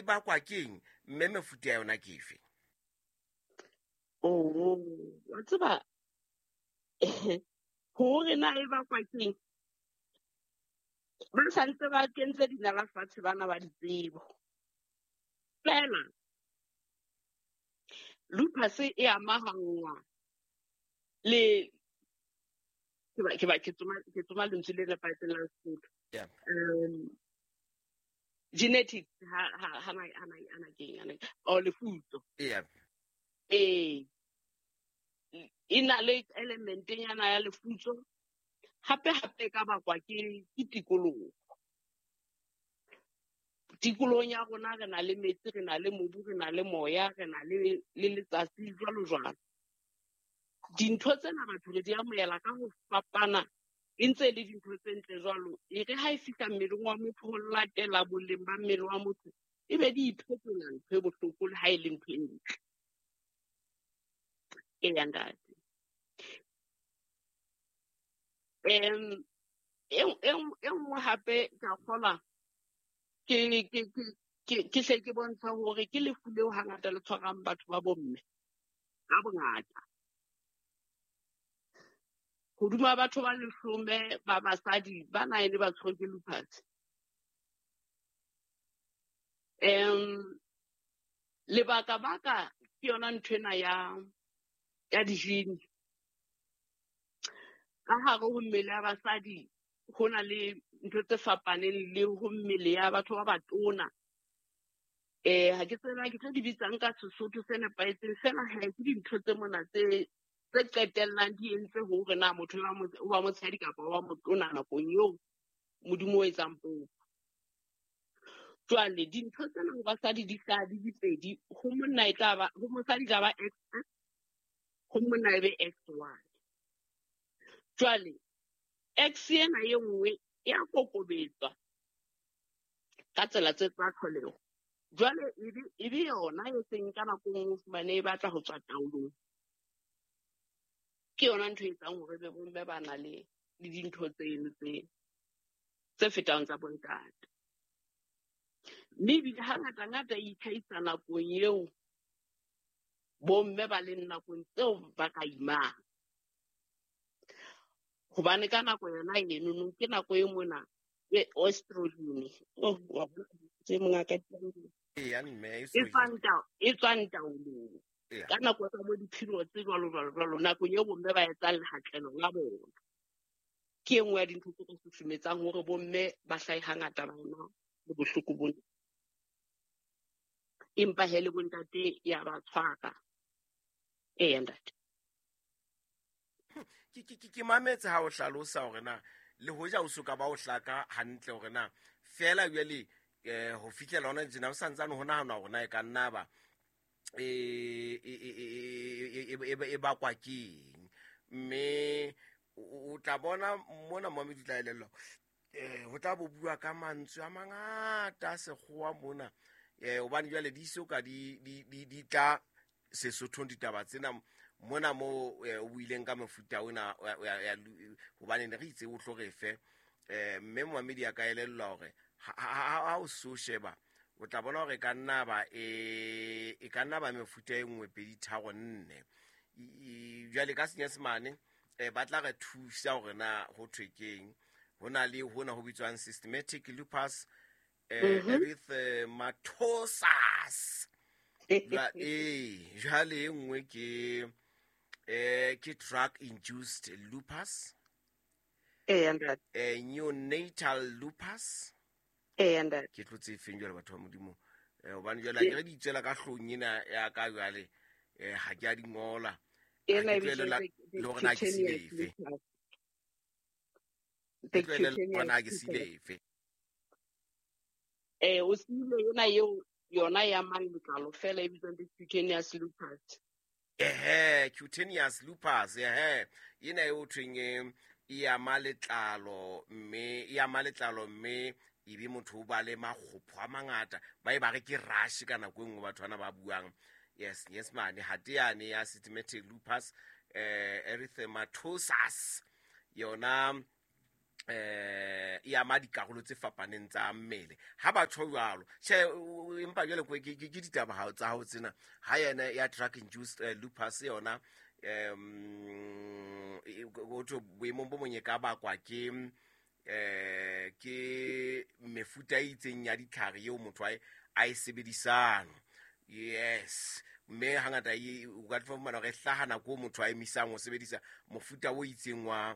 bakwa keng, mme mefuta ya yona ke efe? Oh, wa tseba hore na e bakwa keng, ba santse ba kentse dinala fatshe bana ba ditsebo. Fela lupus e amahanngwa le ke tsoma lentswe le nepahetseng la Sesotho. Genetics ha na keng ana o lefutso. E na le element nyana ya lefutso, hape hape ka bakwa ke tikoloho. Tikolohong ya rona re na le metsi, re na le mobu, re na le moya, re na le letsatsi, jwalo jwalo. Dintho tsena batho re di amohela ka ho fapana, e ntse le dintho tse ntle jwalo. E re ha e fihla mmeleng wa motho ho latela boleng ba mmele wa motho, e be di iphetola ntho e bohloko le ha e le ntho e ntle. Eya ntate. E nngwe hape ka kgolwa ke hle ke bontsha hore ke lefu leo hangata le tshwarang batho ba bomme ka bongata. Hoduma batho ba 10 ba basadi ba 9 ba tshwerwe ke lupus. Lebaka baka ke yona ntho ena ya dijini. Ka hare ho mmele ya basadi ho na le ntho tse fapaneng le ho mmele ya batho ba batona. Ha ke tsebe ke tlo di bitsang ka Sesotho se nepahetseng, fela ha ke dintho tse mona tse qetellang di entse hore na motho wa motshehadi kapa wa motona nakong eo Modimo o etsang popo. Jwale dintho tsena ho basadi di hlaha di di pedi, ho monna e tla ba, ho mosadi e tla ba X, ho monna e be XY. Jwale X ena e nngwe e a kokobetswa ka tsela tse tsa tlholeho. Jwale e be yona e seng ka nako e nngwe o fumane e batla ho tswa taolong. Ke yona ntho e etsang hore be bomme ba na le dintho tseno tse fetang tsa bontate. Mme ebile hangata-ngata e itlhahisa nakong eo bomme ba leng nakong tseo ba ka imang. Hobane ka nako yona eno ke nako e mona e estrogen. Oh, wa bona tse mongaka e tswang taolong. Ka nako tsa bo di-period tse jwalo jwalo jwalo, nakong eo bomme ba etsang lehatlelo la bona. Ke e nngwe ya dintho tse ka susumetsang hore bomme ba hlahe hangata ba ena le bohloko bona. Empa he le bontate ya ba tshwara. Eya ntate. Ke mametse ha o hlalosa hore na le hoja o soka ba o hlaka hantle hore na fela jwale ho fihlela hona tjena o santsane ho nahana hore na e ka nna ba e bakwa keng, mme o tla bona mona mo di tla elellwa ho tla bo bua ka mantswe a mangata a sekgowa mona, hobane jwale di so ka di tla Sesothong ditaba tsena mona mo o buileng ka mofuta ona hobane ne re itse o tlo re fe, mme momamedi a ka elellwa hore ha o so sheba o tla bona hore e ka nna ba e ka nna ba mefuta e nngwe pedi tharo nne. Jwale ka Senyesemane ba tla re thusa hore na ho thwe keng. Ho na le hona ho bitswang systematic lupus erythematosus. Jwale e nngwe ke drug induced lupus, neonatal lupus. Ke tlotse efeng jwale batho ba Modimo, hobane jwale ha ke re di itswela ka hlong ena ya ka jwale, ha ke a di ngola, ha ke tlohele le hore na ke sile efe. Ke tlohele le hore na ke sile efe. O sile yona eo, yona ya mang letlalo fela e bitswang cutaneous lupus. Cutaneous lupus, ena e ho thweng e ama letlalo, mme e ama letlalo, mme e be motho o ba le makgopho a mangata, ba e ba re ke rash ka nako e nngwe batho bana ba buang. Yes, yes mane ha te yane ya systematic lupus erythematosus yona E ama dikarolo tse fapaneng tsa mmele ha ba tjho jwalo. Tjhe, empa jwale ke ditaba tsa hao tsena ha yena ya drug induced lupus yona, ho thwe boemong bo mong e ka bakwa ke ke mefuta e itseng ya ditlhare eo motho a e sebedisang. Yes, mme hangata o ka fumana hore e hlaha nako eo motho a emisang ho sebedisa mofuta o itseng wa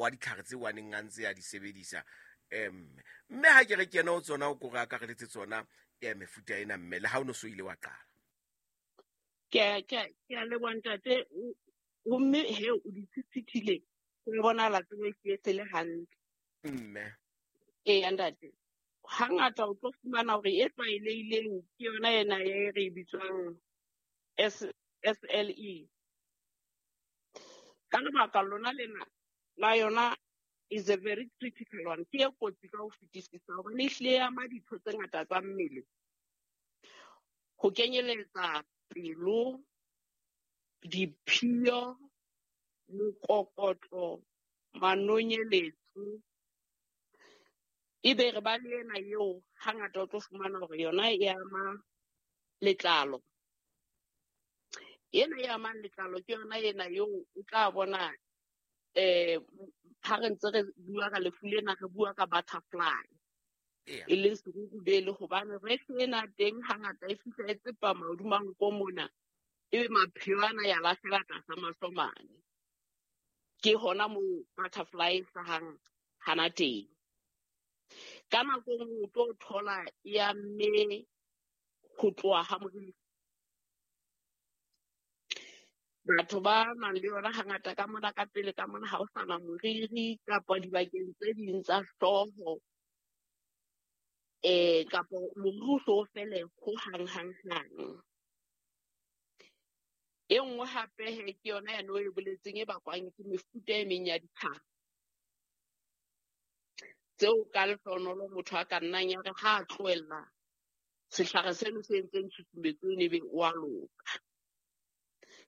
ditlhare tseo a neng a ntse a di sebedisa. Mme ha ke re kena ho tsona, o ko re akareletse tsona mefuta ena, mme le ha o no so ile wa qala. Ke a leboha ntate, mme he o di phethile, ho bonahala tsebo ke e se le hantle. Mme. Ee, ntate. Hangata o tlo fumana hore e tlwaelehileng ke yona ena e re e bitswang SLE. Ka lebaka lona lena la yona is a very critical one. Ke e kotsi ka ho fetisisa hobane e hlile e ama ditho tse ngata tsa mmele. Ho kenyeletsa pelo, diphio, mokokotlo, manonyeletso. Ebe re ba le ena eo hangata o tlo fumana hore yona e ama letlalo. Ena e amang letlalo ke yona ena eo o tla bona, ha re ntse re bua ka lefu lena, re bua ka butterfly. E leng serurubele, hobane rash ena teng hangata e fihla e tsepama hodima nko mona, ebe mapheo ana ya lahlela tlasa mahlo mane. Ke hona moo butterfly e hlahang hana teng. Ka nako e nngwe o tlo thola e amme ho tloha ha moriri. Batho ba nang le yona hangata ka mona ka pele ka mona ha o sana moriri kapa dibakeng tse ding tsa hlooho, kapa moriri o so fele ho hang hang hang. E nngwe hape he ke yona yane o e boletseng e bakwang ke mefuta e meng ya ditlhare tseo ka lehlohonolo motho a ka nnang ya re ha a tlohella sehlare seno se entseng tshusumetso eno ebe o a loka.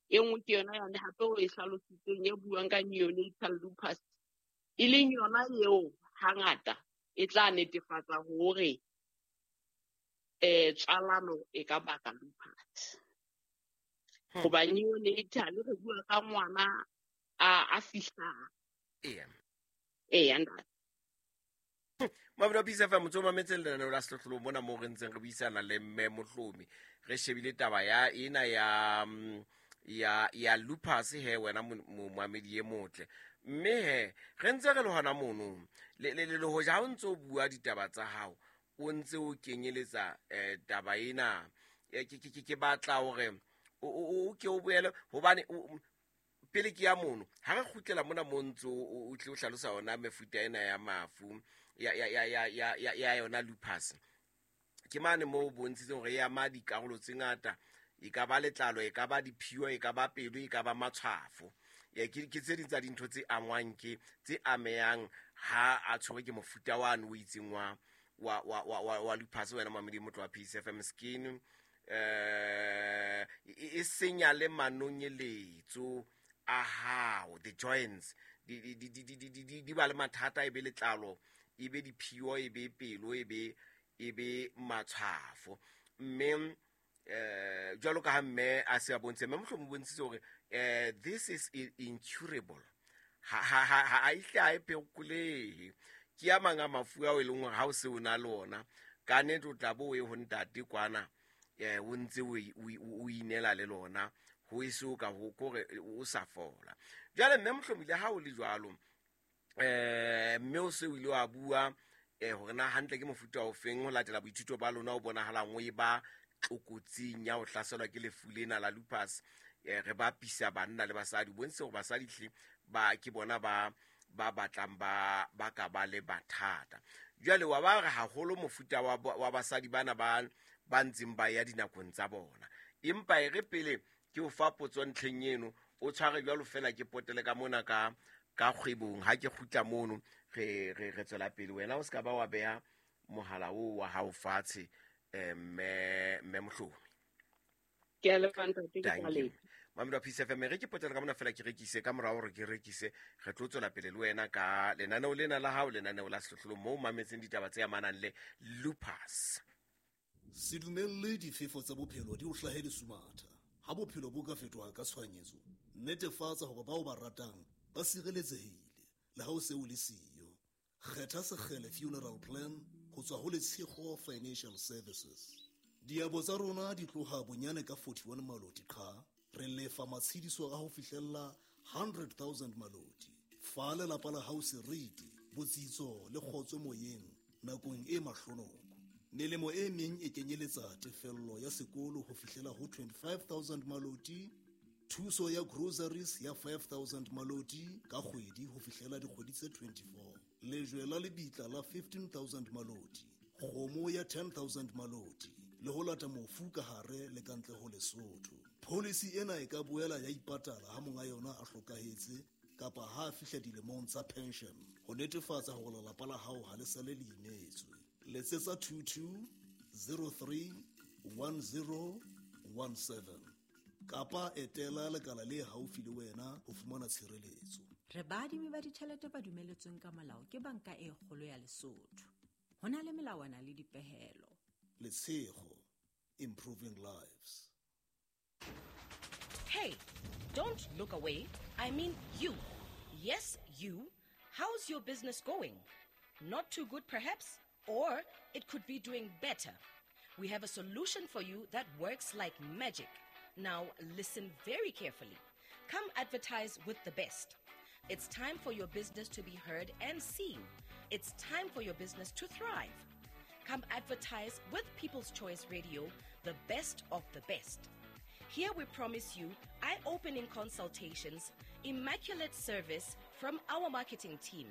E nngwe ke yona yane hape o e hlalositseng e buang ka neonatal lupus, e leng yona eo hangata e tla netefatsa hore, tswalano e ka baka lupus. Hoba neonatal re bua ka ngwana a fihlang. Eya, ntate. Mabelo a Peace FM, motho o mametse lenaneo la Sehlohlolong mona moo re ntseng re buisana le mme Mohlomi. Re shebile taba ya ena ya lupus he wena moamedi e motle. Mme he re ntse re le hona mono. Le hoja ha o ntse o bua ditaba tsa hao, o ntse o kenyeletsa taba ena. Ke batla hore o ke o boele hobane pele ke ya mono, ha re kgutlela mona mo ntse o tle o hlalosa yona mefuta ena ya mafu, ya yona lupus. Ke mane moo o bontshitseng hore e ama dikarolo tse ngata, e ka ba letlalo, e ka ba diphio, e ka ba pelo, e ka ba matshwafo. Ke tse ding tsa dintho tse angwang ke, tse amehang ha a tshwerwe ke mofuta wane o itseng wa lupus. Wena mamedi motho wa Peace FM skin, e senya le manonyeletso a hao, the joints di ba le mathata, e be letlalo, e be diphio, e be pelo, e be matshwafo. Mme jwalo ka ha mme a se a bontshe, mme mohlomong o bontshitse hore this is incurable. Ha e hle ha e phekolehe. Ke a mang a mafu ao e leng hore ha o se o na le ona, ka nnete o tla bo o ye ho ntate kwana, o ntse o inela le lona, ho e so ka ho kore o sa fola. Jwale mme mohlomong le ha o le jwalo, mme o se o ile wa bua hore na hantle ke mofuta o feng ho latela boithuto ba lona o bonahalang o e ba tlokotsing ya ho hlaselwa ke lefu lena la lupus. Re bapisa banna le basadi, bontshe hore basadi hle ba ke bona ba batlang ba ka ba le mathata. Jwale wa ba re haholo mofuta wa basadi bana ba ntseng ba ya dinakong tsa bona. Empa e re pele ke o fa potso ntlheng eno, o tshware jwalo fela ke potele ka mona ka kgwebong. Ha ke kgutla mono, re tswela pele. Wena o ska ba wa beha mohala oo wa hao fatshe, mme Mohlomi. Ke a leboha ntate, ke Thank tla you. leboha. Mamedi wa Peace FM, re ke potela ka mona fela ke rekise, ka morao hore ke rekise re tlo tswela pele le wena ka lenaneo lena la hao, lenaneo la Sehlohlolong, moo mametseng ditaba tse amanang le lupus. Se dumelle difefo tsa bophelo di o hlahe lesumatha. Ha bophelo bo ka fetoha ka tshohanyetso, netefatsa hore bao ba ratang ba sireletsehile le ha o se o le siyo. Kgetha Sekgele Funeral Plan ho tswa ho Letshego Financial Services. Diabo tsa rona di tloha bonyane ka 41 maloti qha, re lefa matshediso a ho fihlella 100,000 maloti. Fa lelapa la hao seriti, botsitso le kgotso moyeng nakong e mahlonoko. Melemo e meng e kenyeletsa tefello ya sekolo ho fihlela ho 25,000 maloti, thuso ya groceries ya 5,000 maloti ka kgwedi ho fihlela dikgwedi tse 24, lejwe la lebitla la 15,000 maloti, kgomo ya 10,000 maloti, le ho lata mofu ka hare le ka ntle ho Lesotho. Policy ena e ka boela ya ipatala ha monga yona a hlokahetse kapa ha a fihla dilemong tsa pension, ho netefatsa hore lelapa la hao ha le sale le imetswe. Letsetsa 22 03 10 17 kapa etela lekala le haufi le wena ho fumana tshireletso. Re baadimi ba ditjhelete ba dumeletsweng ka molao ke Banka e Kgolo ya Lesotho. Ho na le melawana le dipehelo. Letshego, improving lives. Hey, don't look away. I mean you. Yes, you. How's your business going? Not too good, perhaps? Or it could be doing better. We have a solution for you that works like magic. Now, listen very carefully. Come advertise with the best. It's time for your business to be heard and seen. It's time for your business to thrive. Come advertise with People's Choice Radio, the best of the best. Here we promise you eye-opening consultations, immaculate service from our marketing team.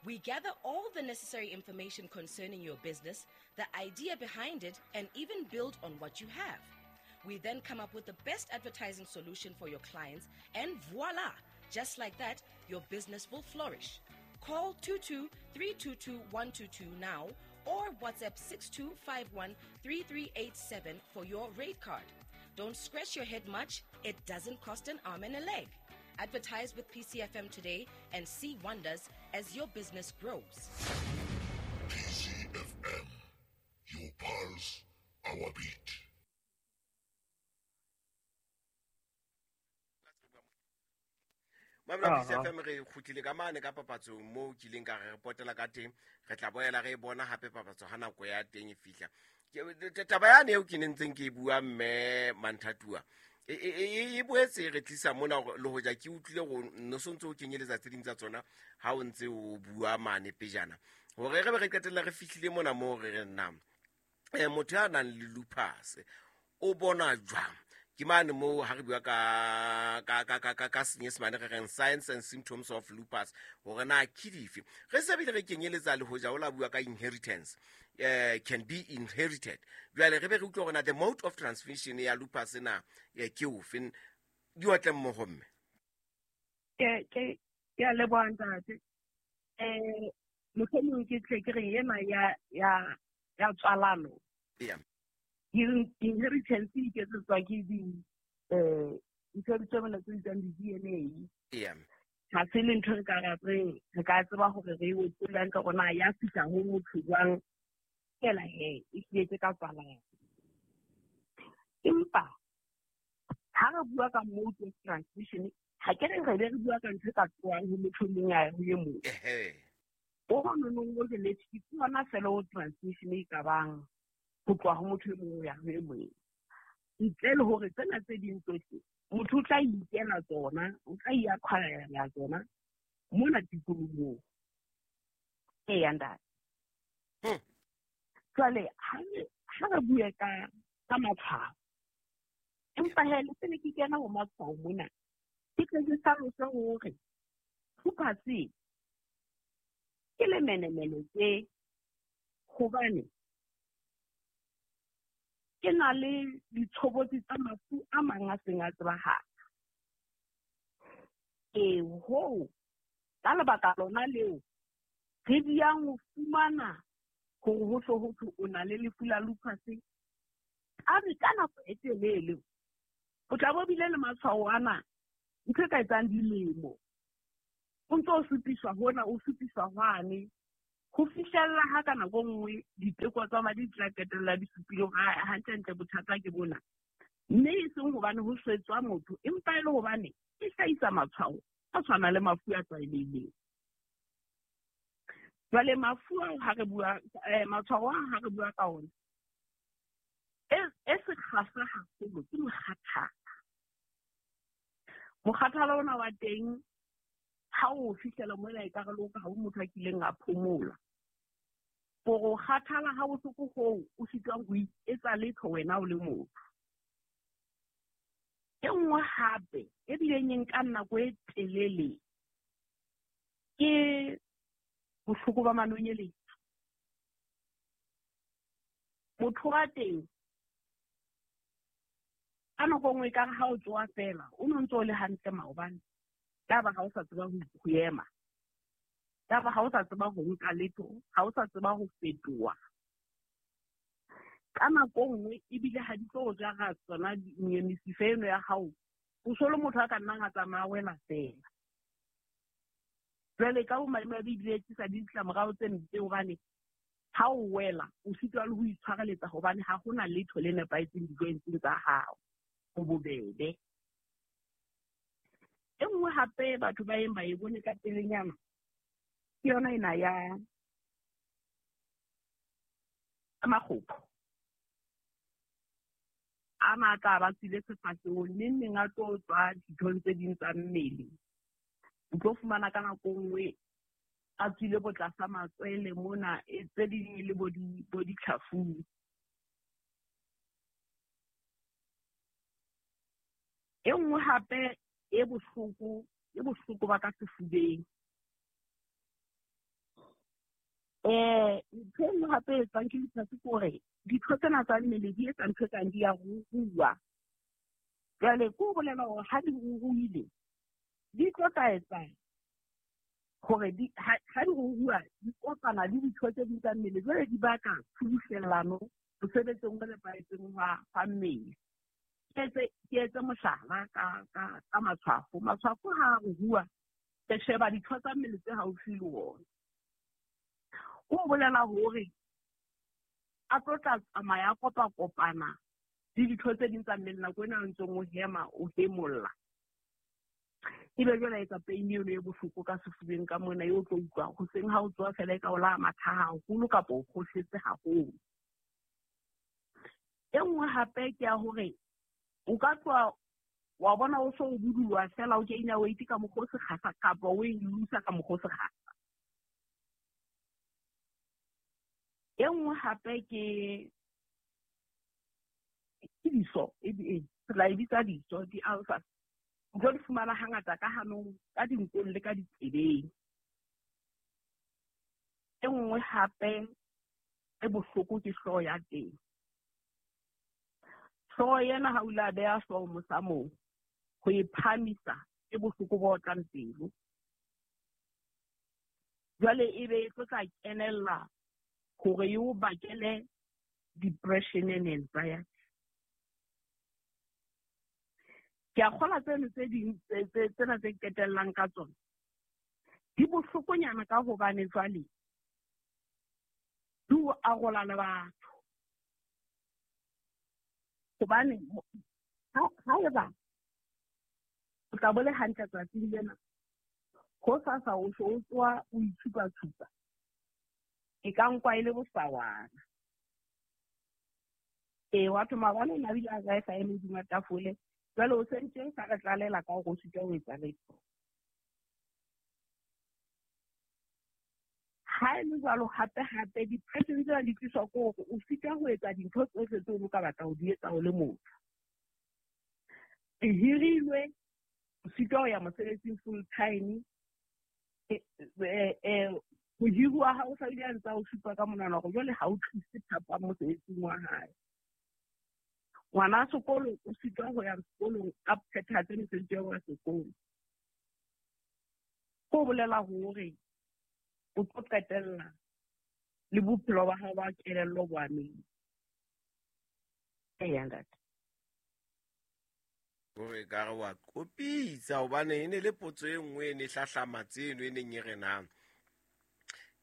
We gather all the necessary information concerning your business, the idea behind it, and even build on what you have. We then come up with the best advertising solution for your clients, and voila! Just like that, your business will flourish. Call 22-322-122 now or WhatsApp 6251-3387 for your rate card. Don't scratch your head much. It doesn't cost an arm and a leg. Advertise with PCFM today and see wonders as your business grows. PCFM, your pulse, our beat. Mamela PCFM, re kgutlile ka mane ka papatsong moo ke ileng ka re potela ka teng. Re tla boela re e bona hape papatso ha nako ya teng e fihla. Taba yane eo ke nentseng ke e bua mme Manthatuwa, e boetse re tlisa mona le hoja ke utlwile go no sontse o kenyeletsa tse ding tsa tsona ha o ntse o bua mane pejana, hore re be re qetella re fihlile mona moo re re nna motho ya nang le lupus o bona jwang? Ke mane moo ha re bua ka Senyesemane re reng signs and symptoms of lupus, hore na ke dife. Re se bile re kenyeletsa le hoja o la bua ka inheritance, can be inherited. Jwale re be re utlwe hore na the mode of transmission ya lupus na ke ofe, di otle mmoho mme. Ke a leboha ntate. Mohlomong ke tle ke re ena ya tswalano. Yeah. Inheritance e iketsetswa ke di ntho tse bana tse bitswang di-DNA. Yeah. Ha se le ntho re ka re re ka tseba hore re e otlolle hantle hore na ya fihla ho motho jwang, fela he e hlile ka tswalano. Empa ha re bua ka mode of transmission, ha ke re re be re bua ka ntho e ka tlohang ho motho e mong a ya ho e mong. O nonong o genetic ke yona fela o transmission e ka bang ho tloha ho motho e mong ho ya ho e mong. Ntle le hore tsena tse ding tsohle motho o tla ikela tsona, o tla iacquire tsona mona tikolohong. Eya ntate. Jwale ha re bue ka matshwao, empa he le pele ke kena ho matshwao mona, ke tle ke hlalose hore lupus ke lemenemene tse, hobane ke na le ditshobotsi tsa mafu a mang a seng a tsebahala. Ee, hoo ka lebaka lona leo re diyang ho fumana hore ho hle ho thwe o na le lefu la lupus, a re ka nako e telele O tla bo bile le matshwao ana ntho e ka etsang dilemo. O ntso o supiswa hona, o supiswa hwane. Ho fihlella ha ka nako e nngwe diteko tsa madi di tla qetella di supile hore hantlentle bothata ke bona. Mme e seng hobane ho swetswa motho, empa e le hobane e hlahisa matshwao a tshwanang le mafu a tlwaelehileng. Jwale mafu ao ha re bua, matshwao ao ha re bua ka ona, e sekgahla haholo ke mokgathala. Mokgathala ona wa teng ha o fihlela mona ekare le ha o motho a kileng a phomola. Hore o kgathala ha bohloko hoo o sitwang ho iketsa letho wena o le motho. E nngwe hape e bileng e nkang nako e telele ke bohloko ba manonyeletso. Motho wa teng ka nako nngwe ekare ha o tsoha feela o no ntso o le hantle maobane, yaba ha o sa tseba ho ema, yaba ha o sa tseba ho nka letho, ha o sa tseba ho fetoha. Ka nako nngwe ebile ha di tlo jara tsona mesifa eno ya hao, o so le motho a ka nnang a tsamaya wela feela. Jwale ka bomadimabe ebile e tlisa le ditlamorao tse mpe hobane ha o wela o sitwa le ho itshwareletsa hobane ha hona letho le nepahetseng di-jointseng tsa hao, ho bobebe. E nngwe hape batho ba yeng ba e bone ka pelenyana ke yona ena ya makgopho. A matla ba tswile sefahlehong, neng neng a tlo tswa dithong tse ding tsa mmele. O tlo fumana ka nako nngwe a tswile bo tlasa matswele mona, tse ding e le bo ditlhafung. E nngwe hape e bohloko, e bohloko ba ka sefubeng. Ntho e nngwe hape e etswang ke lupus ke hore ditho tsena tsa mmele di etsa ntho e kang di a ruruha. Jwale ke ho bolela hore ha di ruruhile, di tlo tla etsa hore ha di ruruha, di kopana le ditho tse ding tsa mmele, jwale di baka tshubuhlellano mosebetsing o nepahetseng wa mmele. Ke etse mohlala ka matshwafo. Matshwafo ha a ruruha, re sheba ditho tsa mmele tse haufi le ona. Ho bolela hore a tlo tla tsamaya a kopa-kopana le ditho tse ding tsa mmele nako ena a ntseng o hema, o hemolla. Ebe jwale a etsa pain eno e bohloko ka sefubeng ka mona, eo o tlo utlwa hoseng ha o tsoha feela e ka o la matha haholo kapa o kgohletse haholo. E nngwe hape ke ya hore o ka tloha wa bona o so o buduloha feela o gain-a weight ka mokgwa o sekgahla kapa o e lose-a ka mokgwa o sekgahla. E nngwe hape ke diso, re la e bitsa diso, di-ulcers. O tlo di fumana hangata ka hanong, ka dinkong le ka ditsebeng. E nngwe hape e bohloko ke hlooho ya teng. Hlooho ena ha o ile a beha hlooho mosamong, ho e phahamisa ke bohloko bo otlang pelo. Jwale ebe e tlo tla kenella hore e o bakele depression and anxiety. Ke a kgolwa tseno tse ding tsena tse qetellang ka tsona di bohlokonyana ka hobane jwale di o arola le batho. Hobane haeba o tla bo le hantle tsatsing lena, hosasa o so o tsoha o itshupa-tshupa, e ka nkwa e le bosawana. Ee, wa thoma maobane o ne a bile a ja e sa eme hodima tafole, jwale o sentse o sa re tlalela ka hore o sitwa ho etsa letho. Ha e le jwalo hape-hape depression tsena di tliswa ke hore o sitwa ho etsa dintho tsohle tseo o ka batla ho di etsa o le motho. E hirilwe, o sitwa ho ya mosebetsing full time. Mohiri wa hao o sa bile a ntse a o supa ka monwana hore jwale ha o tlise thapang mosebetsing wa hae. Ngwana sekolo o sitwa ho ya sekolong a phethahatse mesebetsi ya sekolo. Ho bolela hore o tlo qetella le bophelo ba hao ba kelello bo amehile. Eya ntate. Hore ka re wa kopitsa hobane e ne le potso e nngwe e ne hlahlama tseno e neng e re na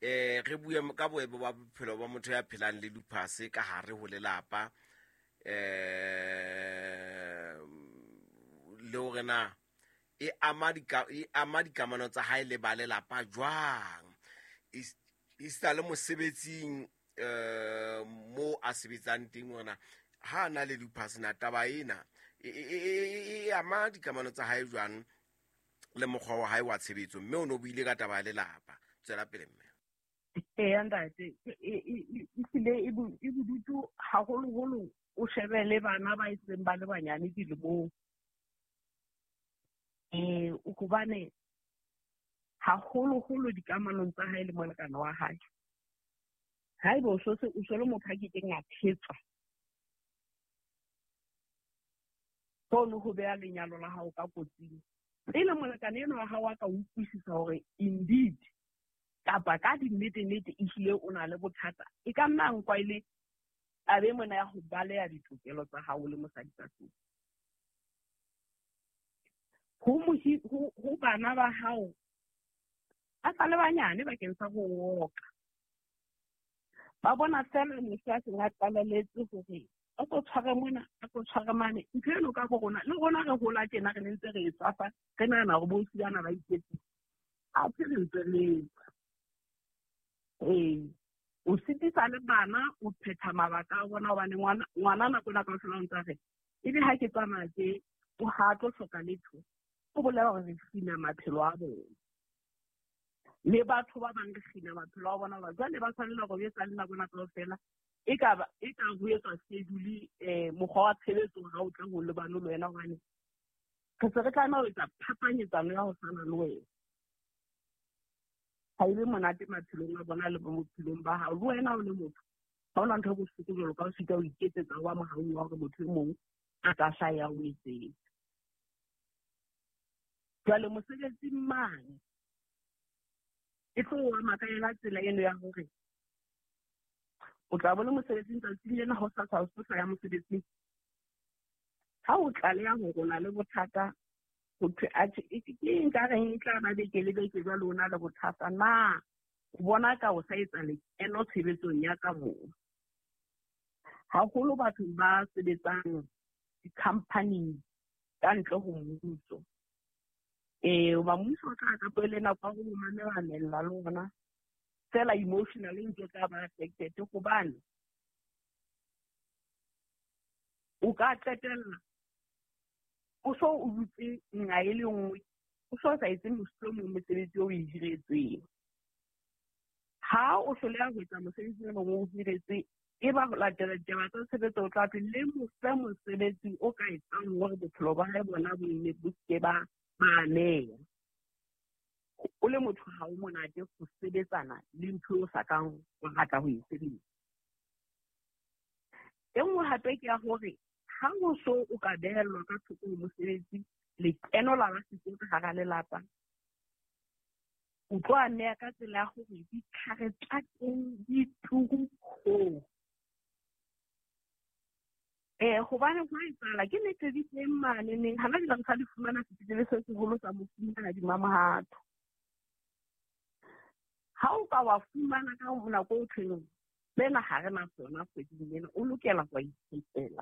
re bue ka boemo ba bophelo ba motho ya phelang le lupus ka hare ho lelapa, le hore na e ama dikamano tsa hae le ba lelapa jwang, esita le mosebetsing mo a sebetsang teng ona ha na le lupus, na taba ena e ama dikamano tsa hae jwang le mokgwa wa hae wa tshebetso, mme o no buile ka taba ya lelapa. Tswela pele mme. Eya ntate, ehlile e bodutu haholoholo o shebe le bana ba seng ba le banyane dilemong. Hobane haholoholo dikamanong tsa hae le molekane wa hae. Haeba o so le motho a kekeng a thetswa, hono ho beha lenyalo la hao ka kotsing. Pele molekane enwa wa hao a ka utlwisisa hore indeed kapa ka dinnete-nnete ehlile o na le bothata, e ka nna nkwa e le taba mona ya ho baleha ditokelo tsa hao le mosadi ka tlung. Ho bana ba hao a sa le banyane bakeng sa ho oka, ba bona fela motho a seng a qaleletse hore a tlo tshware mona, a tlo tshware mane. Ntho eno ka bo rona, le rona re hola tjena re ne ntse re e tswafa, re nahana hore bo bana ba iketsisa. Athe re ntse re etsa. O sitisa le bana o phetha mabaka a bona, hobane ngwana nako ena kaofela o ntse re ebe ha ke tsamaya tje o ha tlo hloka letho, o bolela hore re kgina maphelo a bona. Le batho ba bang re kgina maphelo a bona, hobane jwale ba tshwanela hore o etsa le nako ena kaofela. E ka ho etswa schedule mokgwa wa tshebetso ha o tla ho lebane le wena, hobane re se re tlameha ho etsa phapanyetsano ya ho tshwana le wena. Ha e be monate maphelong a bona le bophelong ba hao. Le wena o le motho, ha hona ntho e bohloko jwalo ka ho sita ho iketsetsa wa mohaung wa hore motho e mong a ka hlaha o etsetsa. Jwale mosebetsing mane e tlo o ama ka yona tsela eno ya hore o tla bo le mosebetsing tsatsing lena, ho sa o ya mosebetsing. Ha o tlaleha hore o na le bothata, ho thwe atjhe ke eng ka reng e tla ba beke le beke jwale o na le bothata, na o bona ka o sa etsa lekeno tshebetsong ya ka moo. Haholo batho ba sebetsang di-company ka ntle ho mmuso. Hoba mmuso o tla ka pele nako ya ho mamela le ona fela emotionally ntse tla ba affected, hobane o ka qetella o so o dutse nqa e le nngwe, o so sa etse mohlomong mosebetsi o e hiretsweng. Ha o hloleha ho etsa mosebetsi o mong o hiretsweng, e ba ho latela ditaba tsa tshebetso o tla thwe le mo fe mosebetsi o ka etsang hore bophelo ba hae bona bo nne bo seke ba ameha. O le motho ha o monate ho sebetsana le ntho o sa kang o rata ho e sebetsa. E nngwe hape ke ya hore ha o so o ka behellwa ka thoko ho mosebetsi, lekeno la ba siko ka hara lelapa, o tlo ameha ka tsela ya hore ditlhare tsa teng di turu hoo. Hobane ho etsahala ke nnete di teng mane neng, hana jwale re sa di fumana sepetlele se seholo sa Mofumahadi Mamohato. Ha o ka wa fumana ka nako o thweng sena ha re na sona kgweding ena, o lokela ho ithekela.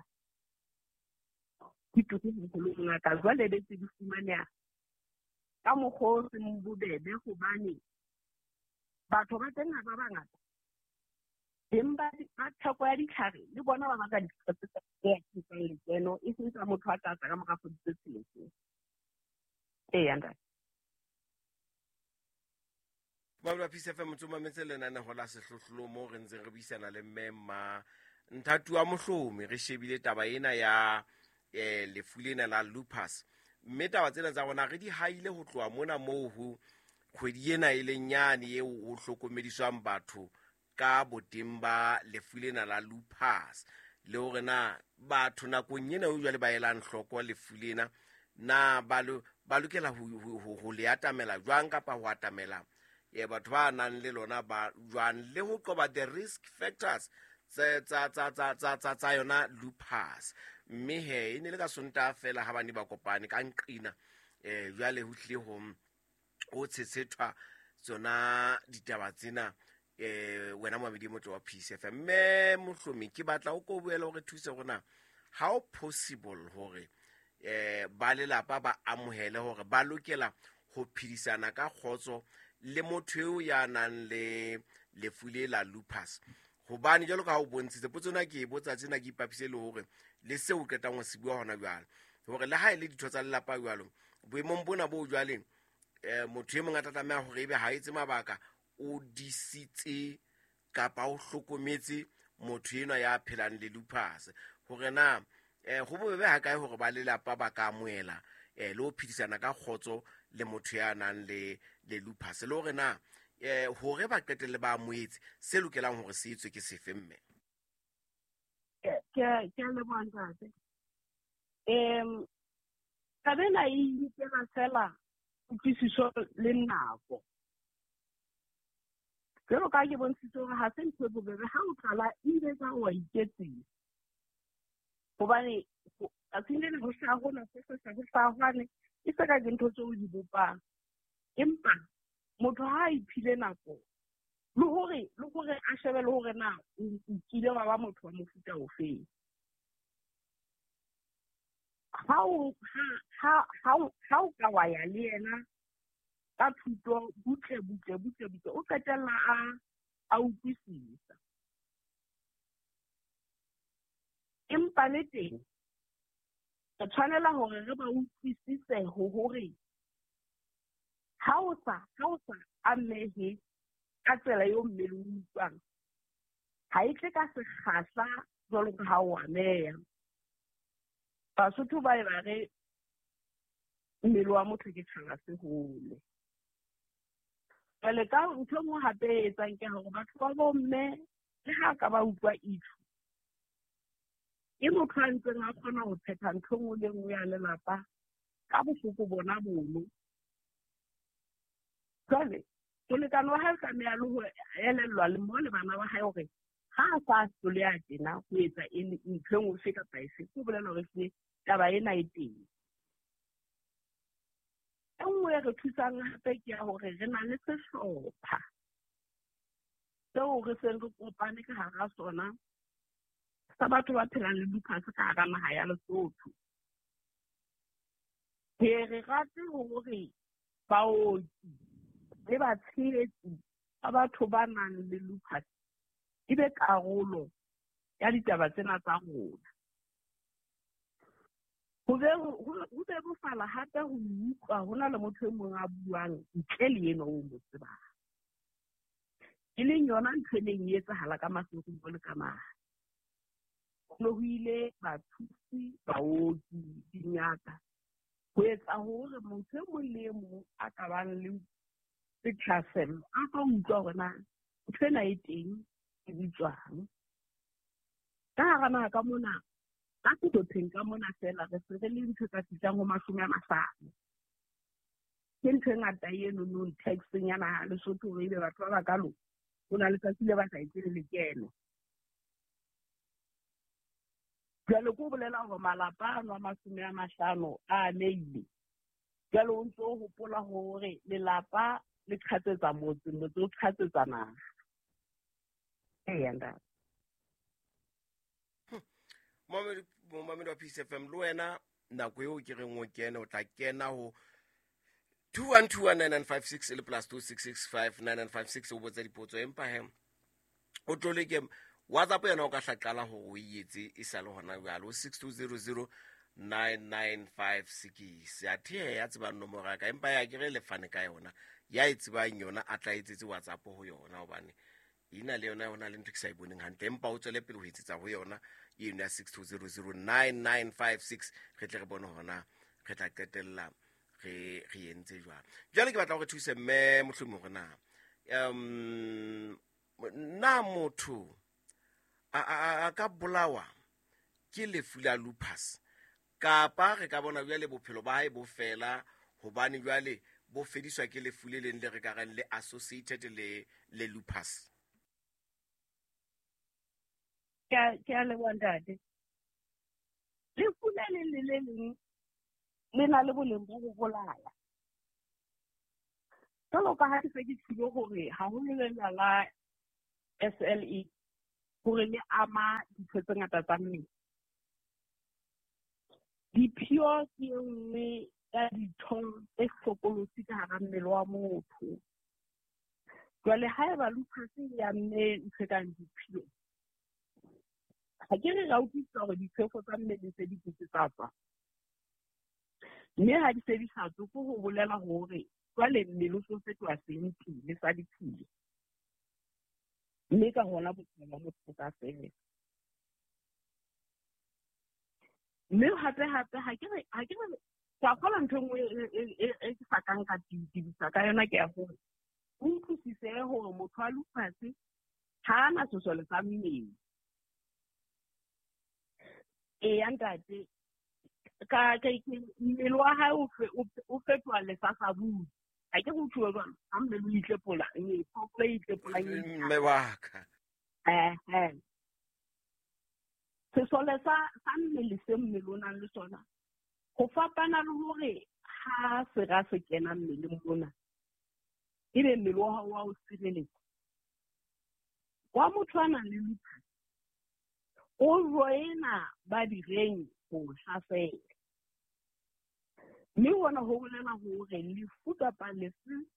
Di turu haholo ngaka, jwale be tse di fumaneha ka mokgwa o seng bobebe, hobane batho ba teng ha ba bangata. Beng ba theko ya ditlhare le bona ba batla ditlhare tse tsa lekeno, e seng tsa motho a tla tla ka mora kgwedi tse tsheletseng. Eya ntate. Babula Peace FM motho mametse lenaneho la Sehlohlolo mo re ntseng re buisana le mme ma Nthati wa Mohlomi, re shebile taba ena ya lefu lena la lupus, mme taba tsena tsa rona re di haile ho tloha mona moo ho kgwedi ena e leng yane eo ho hlokomediswang batho ka boteng ba lefu lena la lupus, le hore na batho nakong ena eo jwale ba elang hloko lefu lena na ba lokela ho le atamela jwang kapa ho atamela batho ba nang le lona ba jwang, le ho qoba the risk factors tsa yona lupus. Mme he e ne le ka Sontaha fela ha bane ba kopane ka nqina, jwale ho tlile ho tshetshethwa tsona ditaba tsena, wena moamedi e motle wa Peace FM. Mme Mohlomi, ke batla o ko boele hore thuse rona, how possible hore ba lelapa ba amohele hore ba lokela ho phedisana ka kgotso le motho eo ya nang le lefu le la lupus? Hobane jwalo ka ha o bontshitse potso ena, ke e botsa tsena ke ipapise le hore le seo o qetang ho se bua hona jwale, hore le ha e le ditho tsa lelapa jwalo boemong bona bo jwale, motho e mong a tla tlameha hore ebe ha etse mabaka, o disitse kapa o hlokometse motho enwa ya phelang le lupus, hore na ho bobebe ha kae hore ba lelapa ba ka amohela le ho phedisana ka kgotso le motho ya nang le lupus, le hore na hore ba qetelle ba amohetse se lokelang hore se etswe ke sefe? Mme Ke a leboha, ntate. Taba ena e inkela fela kutlwisiso le nako. Jwalo ka ha ke bontshitse hore ha se ntho e bobebe, ha o qala ebile ka wa iketsisa. Hobane tsatsing lena ho hlaha hona, ho hlaha ho hlaha hwane, e se ka ke ntho tseo o di bopang. Empa motho ha a iphile nako le hore a shebe le hore na o kile wa ba motho wa mofuta ofeng. Ha o ka wa ya le yena ka thuto butle butle butle butle, o qetella a utlwisisa. Empa le teng re tshwanela hore re ba utlwisise hore ha o sa amehe ka tsela eo mmele o utlwang, ha e tle ka sekgahla jwalo ka ha o ameha. Basotho ba e ba re mmele wa motho ke tjhaba se hole. Jwale ka ntho e nngwe hape e etsang ke hore batho ba bomme le ha ka ba utlwa itho, ke motho a ntseng a kgona ho phetha ntho e nngwe le nngwe ya lelapa ka bohloko bona bono. Jwale molekane wa hae o tlameha le ho elellwa le mo le bana ba hae hore ha a sa hloleha tjena ho etsa ntho e nngwe efe kapa efe, ke ho bolela hore ehlile taba ena e teng. E nngwe e re thusang hape ke ya hore re na le sehlopha seo re seng re kopane ka hara sona sa batho ba phelang le lupus ka hara naha ya Lesotho. Re rate hore baoki le batshehetsi ba batho ba nang le lupus e be karolo ya ditaba tsena tsa rona. Ho bebofala hape ho utlwa ho na le motho e mong a buang ntle le enwa o mo tsebang, e leng yona ntho e neng e etsahala ka Maseru le ka mane. Ho ne ho ile bathusi, baoki, dingaka ho etsa hore motho e mong le e mong a ka bang le sethasello a ka utlwa hore na ntho ena e teng e bitswang. Ka hara naha ka mona, ka sehlopheng ka mona fela re se re le ntho tsa fihlang ho 50. Ke ntho e ngata eno no taxeng ya naha Lesotho hore ebe batho ba bakalo ho na le tsatsi le ba sa etse le lekeno. Jwale ke ho bolela hore malapa ano a 50 a amehile. Jwale o ntso hopola hore lelapa le qhatsetsa motse, motse o qhatsetsa naha. Eya, ntate. Momamedi wa Peace FM, le wena nako eo ke reng o kene, o tla kena ho 21219956 le +26659956 o botsa dipotso. Empa he o tlole ke WhatsApp yona o ka hla qala hore o e etse e sa le hona jwale ho 62009956. Athe ya tsebang nomoro ya ka, empa ya ke re le fane ka yona, ya e tsebang yona a tla etsetse WhatsApp ho yona, hobane ina le yona hona le ntho ke sa e boneng hantle. Empa o tswele pele ho etsetsa ho yona eno ya 62009956, re tle re bone hore re tla qetella re entse jwang. Jwale ke batla hore thuse mme Mohlomi hore na na motho a ka bolawa ke lefu la lupus, kapa re ka bona jwale bophelo ba hae bo fela hobane jwale bo fediswa ke lefu le leng le re ka reng le associated le lupus? Ke a leboha ntate. Lefu le leng le le leng le na le boleng ba ho bolaya. Jwalo ka ha ke se ke tshilo hore haholo lena la SLE hore le ama ditho tse ngata tsa mmele. Diphio ke e nngwe ya ditho tse hlokolosi ka hara mmele wa motho. Jwale haeba lupus e amme ntho e kang diphio, ha ke re ra utlwisisa hore diphefo tsa mmele se di ketse tsa tswa. Mme ha di se di sa tswe, ke ho bolela hore jwale mmele o so fetoha sentile sa diphio. Mme ka hona bophelo ba motho bo ka fela. Mme hape hape ha ke re ke a kgolwa ntho e nngwe e ke sa kang ka tibisa ka yona ke ya hore o utlwisise hore motho wa lupus ha a na sesole sa mmele. Eya ntate, ka mmele wa hae o fetoha lesasabudi. Ha ke go tjho jwalo, ha mmele o itlepola, phoofolo e itlepolang e Mme wa ka. Sesole sa mmele se mmele o nang le sona, ho fapana le hore ha sera se kena mmeleng mona, ebe mmele wa hao wa o sireletsa. Wa motho a nang le lupus, o joina ba direng ho hlasela. Mme hona ho bolela hore lefu kapa lefu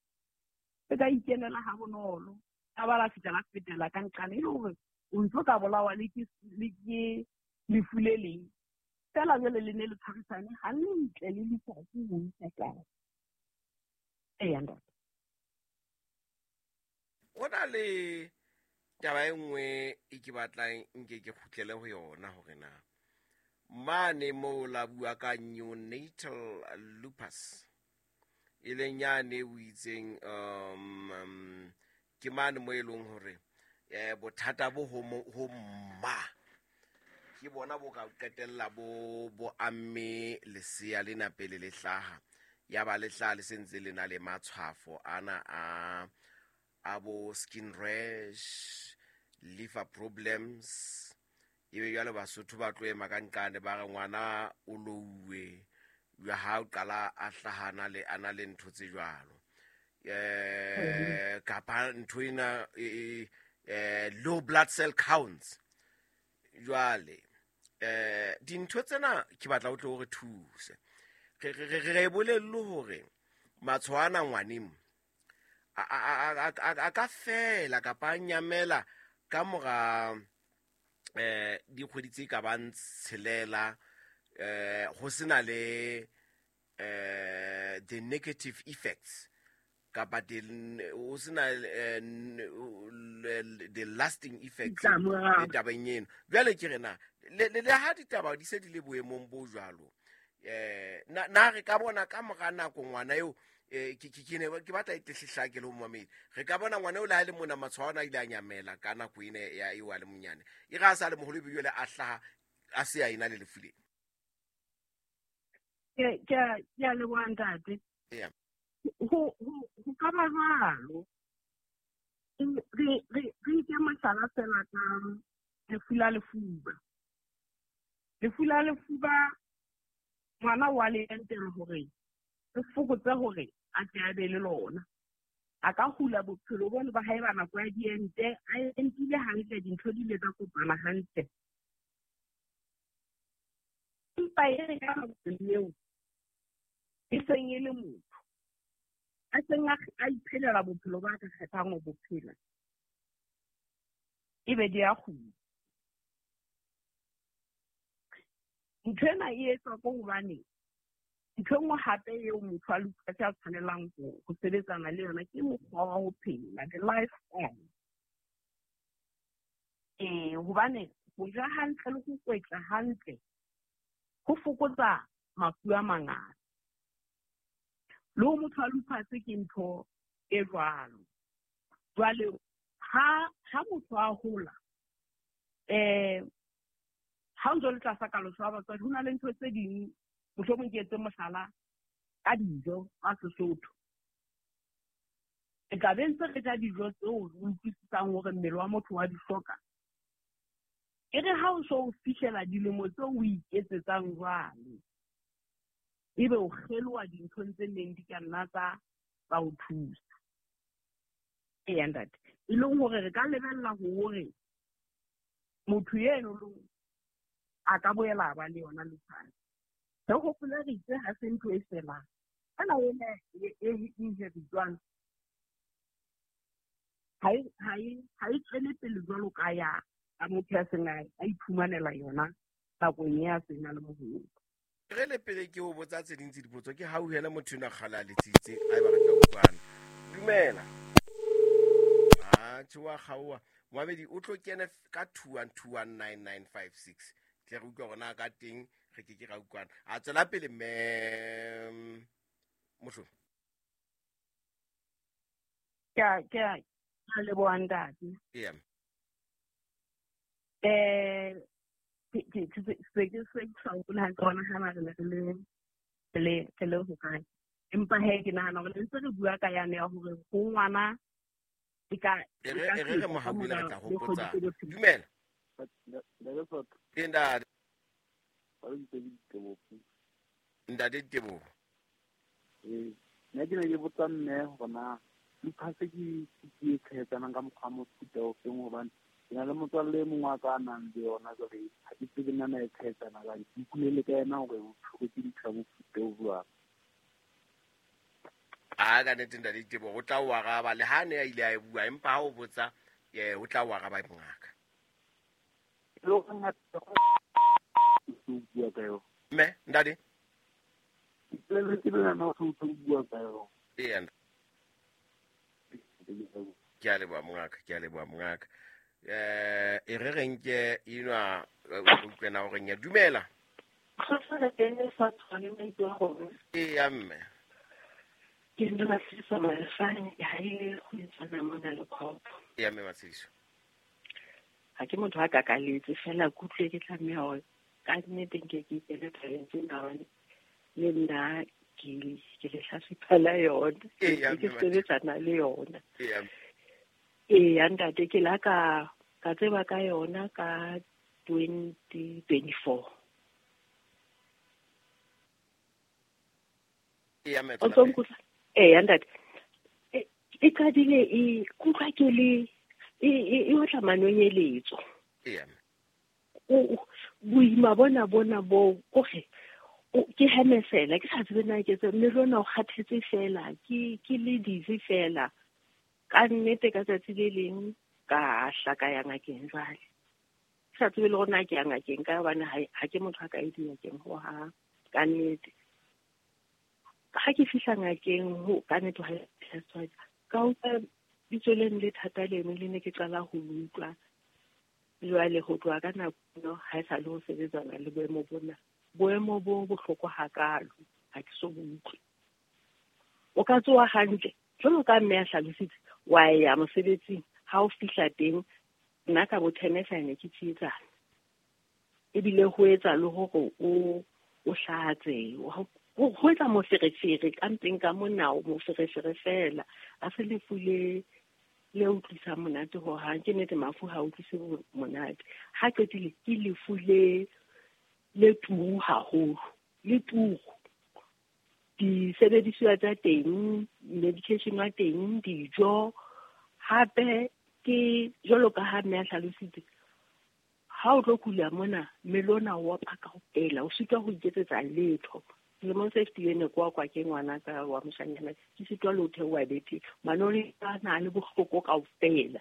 le ka ikenela ha bonolo, ka ba la fihla la fetela ka nqane, e le hore o ntso ka bolawa le ke lefu le leng. Feela jwale le ne le tshwarisane hantle le lupus ho isa kae. Eya ntate. Ho na le taba e nngwe e ke batlang nke ke kgutlele ho yona hore na mane moo la bua ka neonatal lupus e leng yane o itseng ke mane mo e leng hore bothata bo ho mma ke bona bo ka qetella bo amme lesea lena pele le hlaha, ya ba le hlaha le sentse le na le matshwafo ana a bo skin rash, liver problems. Ebe jwale Basotho ba tlo ema ka nqane ba re ngwana o louwe jwa ha o qala a hlahana le ana le ntho tse jwalo. Kapa ntho ena low blood cell counts. Jwale dintho tsena ke batla o tle o re thuse. Re bolelle hore matshwao ana ngwaneng a ka fela kapa a nyamela ka mora dikgwedi tse ka bang tshelela, ho sena le the negative effects kapa ho sena the lasting effects tabeng eno. Jwale ke re na le ha ditaba di se di le boemong bo jwalo, na re ka bona ka mora nako ngwana eo ke batla e tle le ho mamedi, re ka bona ngwana o le ha le mona matshwao ana a ile a nyamela ka nako ena ya eo a le monyane, e re a sa le moholo ebe jwale a hlaha a se a ena le lefu lena. Ke a leboha ntate. Ho ka ba jwalo. Re nke mohlala fela ka lefu la lefuba. Lefu la lefuba ngwana wa le entela hore re fokotse hore a tle a be le lona. A ka hula bophelo bona ba hae ba nako ya diente, a entile hantle, dintho di ile tsa kopana hantle. Empa e re ka nako eo e seng e le motho a seng a iphelela bophelo ba ka kgethang ho bo phela, ebe di a kgutla. Ntho ena e etswa ke hobane ntho e nngwe hape eo motho a lupus a tshwanelang ho sebetsana le yona ke mokgwa wa ho phela, the lifestyle. Hobane ho ja hantle le ho kwetla hantle ho fokotsa mafu a mangata. Le ho motho a lupus ke ntho e jwalo. Jwale ha motho a hola, ha o ntso le tlasa kaloso ya batswadi, ho na le ntho tse ding, mohlomong ke etse mohlala ka dijo tsa Sesotho. Re tla be ntse re ja dijo tseo re utlwisisang hore mmele wa motho wa di hloka. E re ha o so o fihlela dilemo tseo o iketsetsang jwale, ebe o kgeloha dinthong tse neng di ka nna tsa o thusa. Eya ntate, e leng hore re ka lebella hore motho eno a ka boela a ba le yona lupus. Re hopole re itse ha se ntho e felang. Ena ena e inheritwang ha e tswele pele jwalo ka ya motho ya seng a iphumanela yona nakong ya seng a le moholo. Re le pele ke o botsa tse ding tse dipotso ke hauhele motho ena kgale a letsitse a e ba re tla utlwana. Dumela. Tjhe wa kgaoha. Moamedi o tlo kene ka 2129956. Tle re utlwe hore na ka teng re ke ke ra utlwana. A tswela pele mme Mohlomi. Ke a leboha ntate. Yeah. Ke se sa hopola hantle hore na re le hokae. Empa he ke nahana hore ntse re bua ka yane ya hore ho ngwana e ka re mo hauhele re tla hopotsa. Dumela. Ntate. Ntate Teboho. Nna ke ne ke botsa mme hore na lupus ke e tshwaetsanang ka mokgwa mofuta ofeng, hobane ke na le motswalle e mongwe wa ka a nang le yona jwale ha ke tsebe nna na e tshwaetsana kang. Ke ikutlwele ka yena hore o tshwerwe ke ntho ya mofuta o jwang. A ka nnete ntate Teboho o tla o araba le ha ne a ile a e bua, empa ha o botsa o tla o araba mongaka. Mme ntate ee, ke a leboha mongaka, ke a leboha mongaka. E re reng ke enwa utlwena hore nya dumela. Eya mme. Ke nna Matshediso Malefane, ha e go etsana mona le khopo. Eya mme Matshediso. Ha ke motho a kakaletse fela ke utlwe ke tlameha hore ka nnete nke ke ikele tabeng tsena hobane le nna ke lehlatsipa la yona. Ke sebetsana le yona. Eya ntate, ke la ka tseba ka yona ka 2024. Eya ntate, e qadile e kutlwa ke le e otla manonyeletso. Boima bona bo kore ke hemesela ke sa tsebe na ke tse mme lona o kgathetse fela ke le dizzy fela. Ka nnete ka tsatsi le leng ka hla ka ya ngakeng jwale. Ke sa tsebe le hore na ke ya ngakeng ka hobane ha ke motho a ka e dingakeng hohang. Ka nnete. Ha ke fihla ngakeng ho ka nnete ha ka utlwa bitso leno le thata leno le ne ke qala ho utlwa. Jwale ho tloha ka nako eno ha e sa le ho sebetsana le boemo bona. Boemo bo bohloko hakalo ha ke so bo utlwe. O ka tsoha hantle jwalo ka mme a hlalositse, wa ya mosebetsing, ha o fihla teng nna ka bo 10 ke tsietsana. Ebile ho etsa le hore o hlatse, ho etsa moferefere ka mpeng ka mona, moferefere fela. A se lefu le utlwisa monate hohang. Ke nnete mafu ha utlwise monate. Ha qetile ke lefu le turu haholo, le turu. Disebediswa tsa teng, medication wa teng, dijo, hape ke jwalo ka ha mme a hlalositse, ha o tlo kula mona mmele ona o opa kaofela, o sitwa ho iketsetsa letho. Selemong se fetileng ne ke wa kwa ke ngwana ka wa moshanyana, ke sitwa le ho theoha bethe, manoni a na le bohloko kaofela.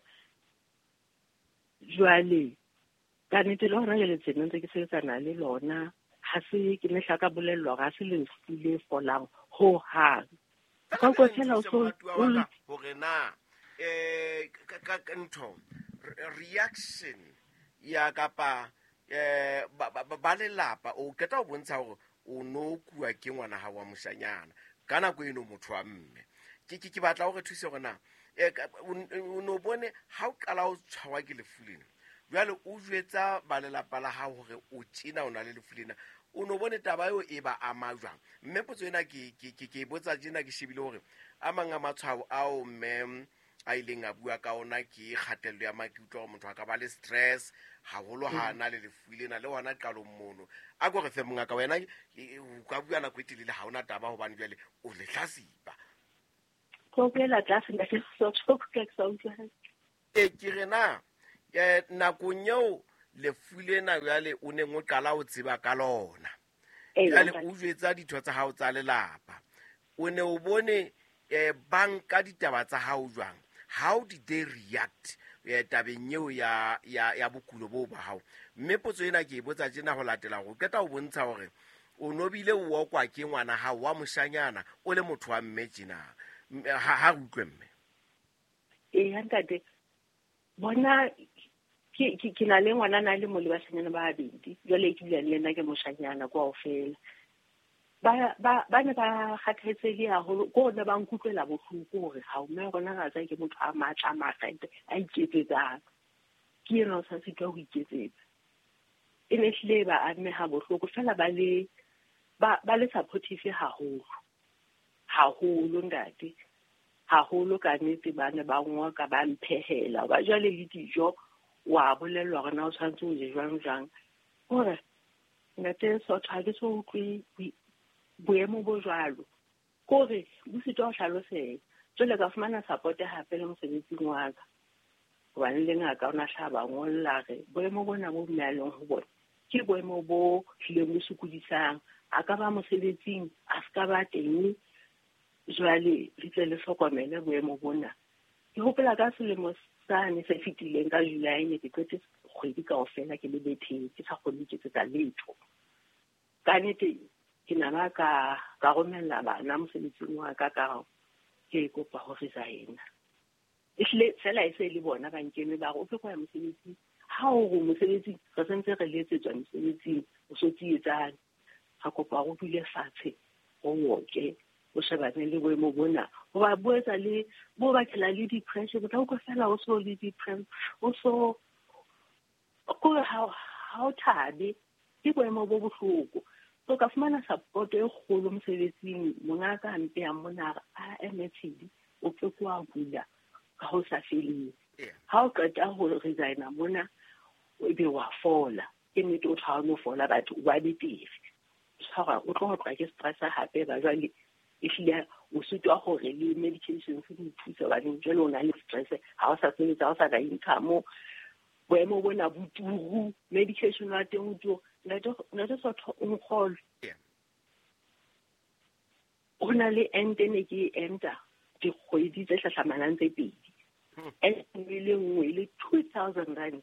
Jwale ka nnete le hona jwale tsena ntse ke sebetsana le lona, ha se ke ne hlaka bolellwa hore ha se lefu le folang hohang. Ka utlwa fela o so hore na ka ntho reaction ya kapa ba lelapa o qeta ho bontsha hore o no kuwa ke ngwana ha wa moshanyana ka nako eno motho wa mme. Ke batla hore thuse hore na o no bone ha o qala o tshwarwa ke lefu lena. Jwale o jwetsa ba lelapa la hao hore o tjena o na le lefu lena. O no bone taba eo e ba ama jwang? Mme potso ena ke botsa tjena ke shebile hore a mang a matshwao ao mme a ileng a bua ka ona ke kgatello ya maikutlo gore motho a ka ba le stress haholo ha a na le lefu lena le ona qalong mono. A ko re fe mongaka wena o ka bua nako e telele ha ona taba hobane jwale o lehlasipa. Ko boela tlase ntate Sotho ke sa utlwa hantle. E ke re na nakong eo lefu lena jwale o neng o qala o tseba ka lona. Jwale o jwetsa ditho tsa hao tsa lelapa. O ne o bone banka ditaba tsa hao jwang? How did they react tabeng eo ya bokulo bo ba hao? Mme potso ena ke e botsa tjena ho latela hore o qeta ho bontsha hore o nobile o okwa ke ngwana hao wa moshanyana o le motho wa mme tjena. Ha re utlwe mme. Ee, ntate, bona ke na le ngwana na le mo le bashanyana ba babedi. Jwale ke bua le yena ke moshanyana kaofela. Ba ne ba kgathetsehile haholo, ko ne ba nkutlwela bohloko hore ha mme rona ra tsaya ke motho a matla a makgethe a iketsetsang. Ke yena o sa sitwa ho iketsetsa. E ne hlile ba ameha bohloko fela ba le supportive haholo. Haholo ntate. Haholo ka nnete ba ne ba ngoka ba mphehela. Ba jwale le dijo wa bolellwa hore na o tshwanetse o je jwang jwang. Hore ntate Sotho ha ke so utlwe boemo bo jwalo. Kore bo sitwa ho hlaloseha. Jwale ka fumana support hape le mosebetsing wa ka. Hobane le ngaka o na hlaba ngolla re boemo bona bo mme a leng ho bona ke boemo bo hlileng bo sokodisang. A ka ba mosebetsing, a se ka ba teng. Jwale le tle le hlokomele boemo bona. Ke hopola ka selemo sane se fetileng ka July ne ke qete kgwedi kaofela ke le betheng, ke sa kgone ho iketsetsa letho. Ka nnete ke na ba ka romella bana mosebetsing wa ka ka ke kopa ho resign. Ehlile fela e se le bona ba nkeme ba re o ke go ya mosebetsing. Ha o re mosebetsing re sentse re letsetswa mosebetsing o so tsietsane. Ra kopa ho dule fatshe o oke o shebane le boemo bona. Hoba bo etsa le bo bakela le depression, o tla utlwa fela o so le depression, o so kore ha o thabe, ke boemo bo bohloko. So ka fumana support e kgolo mosebetsing, mongaka a mpeha mona a MTD o ke kwa bula ka ho sa feleng. Ha o qeta ho resigna mona o be wa fola. Ke nnete o tshwana no fola batho o ba betere. Tshwara o tlo tloha ke stress hape ba jwale ehlile o sitwa hore le medications di o thusa hobane jwale o na le stress ha o sa sebetsa ha o sa na income. Boemo bona bo turu, medication wa teng o turu. Ntate Sotho o nkgolwe. Ho na le ente ne ke e enta dikgwedi tse hlahlamanang tse pedi. Ente e le nngwe e le 2000 rand.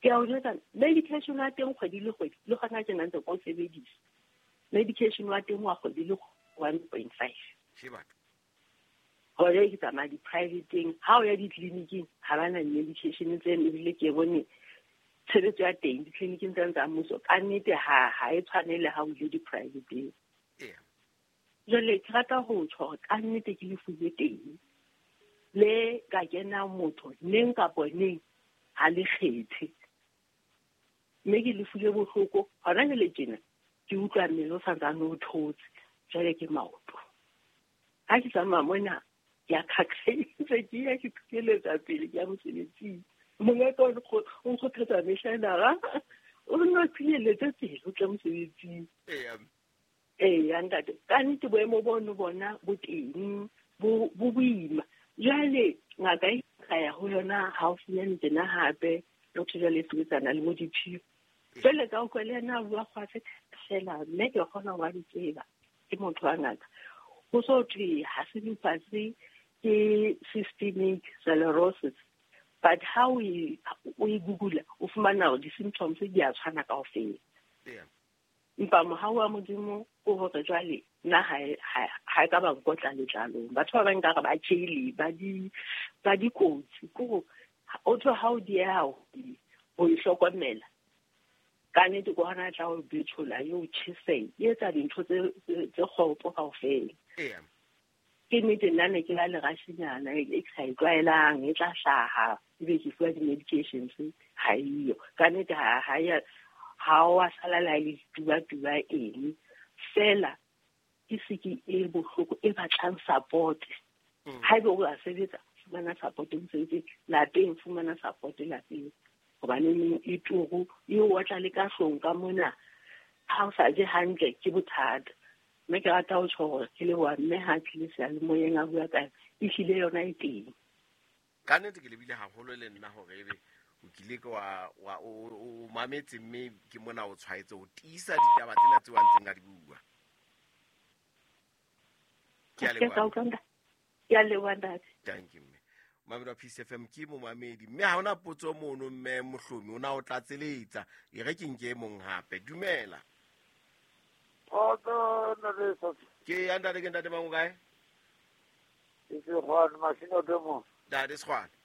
Ke a o jwetsa medication wa teng kgwedi le kgwedi le hona tjena ntse ke o sebedisa. Medication wa teng wa kgwedi le 1.5. Hore ke tsamaya di-private-eng, ha o ya ditleliniking ha ba na medication tseno, ebile ke bone tshebetso ya teng ditleliniking tsena tsa mmuso ka nnete ha e tshwane le ha o ile di-private-eng. Jwale ke rata ho tjho hore ka nnete ke lefu le teng le ka kena motho neng kapa neng ha le kgethe. Mme ke lefu le bohloko hona jwale tjena ke utlwa mmele o santsane o thotse, jwale ke maoto. Ha ke tsamaya mona ke a khakgaitse, ke ya ke phukeletsa pele ke ya mosebetsing. Mongaka o nkgothatsa mehla ena ra o nno phileletse pele o tle mosebetsing. Ee, ntate, ka nnete boemo bono bona bo teng bo boima. Jwale ngaka e ka ya ho yona haufinyane tjena hape motho jwale e sebetsana le bo diphio. Jwale ka utlwa le yena a bua kgwatse fela mme ke kgona ho ba di tseba ke motho wa ngaka. Ho so thwe ha se lupus ke systemic sclerosis, but ha o e google o fumana hore di-symptoms di a tshwana kaofela. Empa mohau wa Modimo o hore jwale nna ha e ka ba nkotla letlalong. Batho ba bang nkare ba tjhele ba dikotsi ko o thwe ha o dieha ho e hlokomela. Ka nnete ke hona tla o betšhola e o tjhese e etsa dintho tse kgopo kaofela. Ke nnete nna ne ke la lerashinyana e ke sa e tlwaelang e tla hlaha ebe ke fuwa di-medications ha eyo. Ka nnete ha o a sala le ha e le dituba-tuba eng fela ke seke e bohloko e batlang support. Haeba o a sebetsa, fumana support mosebetsing, lapeng fumana support lapeng. Hobane e turu e o otla le ka hlong ka mona, ha o sa je hantle ke bothata. Mme ke rata ho tjho hore ke leboha mme ha tlile seyalemoyeng a bua ka ehlile yona e teng. Ka nnete ke lebile haholo le nna hore ebe o kile ke wa o mametse mme ke mona o tshwaetse ho tiisa ditaba tsena tseo a ntseng a di bua. Ke a leboha. Ke a leboha ntate. Thank you mme. Mamedi wa Peace FM ke momamedi mme ha hona potso mono mme Mohlomi o na o tlatseletsa e re ke nke e mong hape. Dumela. Kgotso ntate Sophie. Ke ya ntate, ke ntate mang o kae? Ke Sekgwane Masinoto mo. Ntate Sekgwane.